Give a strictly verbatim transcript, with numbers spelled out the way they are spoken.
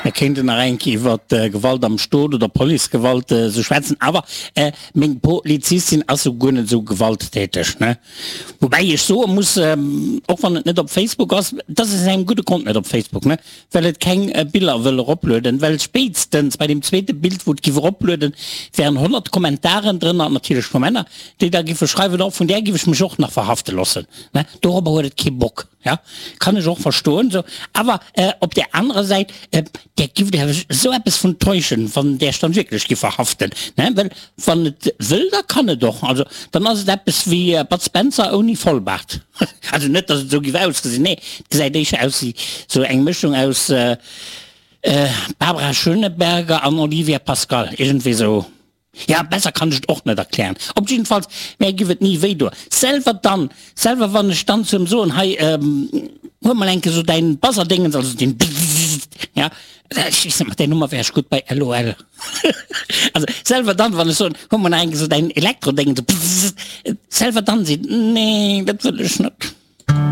Mir kéinten nach eng Kéier iwwer Gewalt am Stot oder Policegewalt esou schwätzen, awer meng Polizistin ass esou guer net esou gewalttäteg, ne? Woubäi ech soe muss, och wann et net op Facebook ass, dat ass aus engem gudde Grond net op Facebook, ne, well et keng Biller wëll eroplueden, well spéitstens bei deem zweete Bild, wou et giff eroplueden, wären honnert Kommentaren drënner, natierlech vu Männer, déi da giffe schreiwen, oh vun där giff ech mech och nach verhafte loossen, ne? Dorobber huet et kee Bock. Ja, kann ech och verstoen sou. Awer op där anerer Säit, där giff der sou eppes vun täuschen, wann där dann wierklech giff verhaften, ne? Well wann et wëll, da kann et och. Also dann ass et eppes wéi Bud Spencer ouni Vollbaart. Also net, dass et sou giff ausgesinn, nee, et gesäit éischer aus wéi sou eng Mëschung aus Barbara Schöneberger an Olivia Pascal, iergendwéi sou. Ja, besser kann ech et och net erklären. Op jiddefalls, mär giff et ni wéi doen. Selwer dann, selwer wann ech dann zu em soen, hei, huel mol enke sou däin Buzzerdéngens, also deen Bzzzt, ja, ech weess net, mat där Nummer wär ech gutt bei LOL. Also selwer dann, wann ech soen, huel mol nach enke sou däin Elektrodéngens, Bzzzt, selwer dann seet en, nee, dat wëll ech net.